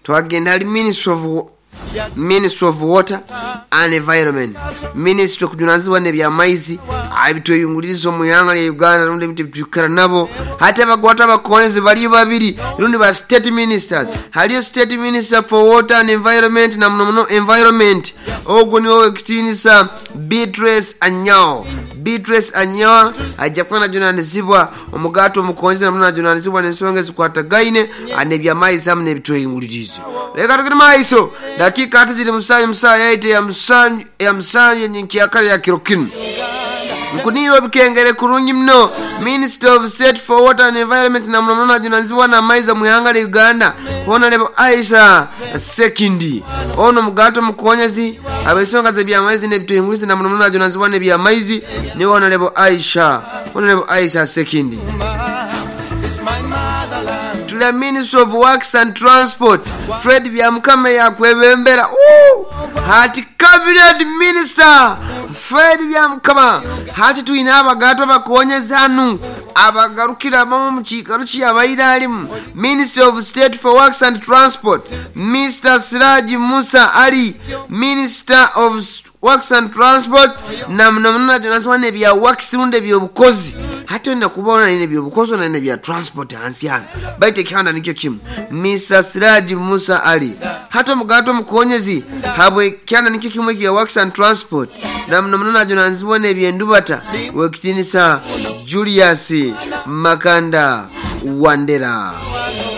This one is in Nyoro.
Twagenda hali Ministry of Water and Environment, Ministry okujunanizibwa n'ebyamaizi ebitweyunguliriza omu ihanga lya Uganda rundi ebintu ebitwikara nabo. Hati abagwatwa abakonyezi baliyo babiri rundi ba state ministers. Haliyo State Minister for Water and Environment, na muno muno environment, ogwo niwe wekitiinisa Beatrice Anyao. Beatrice Anyao ajja kuba najunanizibwa omugato omukonyezi, namuno najunanizibwa n'ensonga ezikwatagaine n'ebyamaizi hamu n'ebitweyunguliriza. Leka tugende maiso. Dakiika ati ziri musanju musaa yaite ya musanju, ya musanju nyenkyakara ya kiro kinu. Nkunirwa bikengere kurungi muno. Minister of State for Water and Environment, na muno muno najunanizibwa n'amaizi omu ihanga lya Uganda, Honorable Aisha Sekindi. Ono mugato mukonyezi ab'ensonga z'ebyamaizi n'ebitweyunguliriza, na muno muno najunanizibwa n'ebyamaizi, niwe Honorable Aisha Sekindi. It's my motherland. Tuli Ministry of Works and Transport, Fred Byamukama yakwebembera. Ooh! Hati cabinet minister Fred Byamukama, hati twine abagato abakonyezi hanu abagarukira abamu mu kiikaro kyabaire alimu. Minister of State for Works and Transport, Mr Siraji Musa Ali. Minister of Works and Transport, na muno muno najunanizibwa n'ebya works rundi ebyobukozi. Hati olina kuba onalina ebyobukozi, onalina ebya transport hansi hano, baitu ekihanda nikyo kimu. Mr Siraji Musa Ali, hati omugato omukonyezi habwe kyanda nikyo kimu ekya Works and Transport, na muno muno najunanizibwa n'ebyendubata, wekitinisa Julius Makanda Wandera.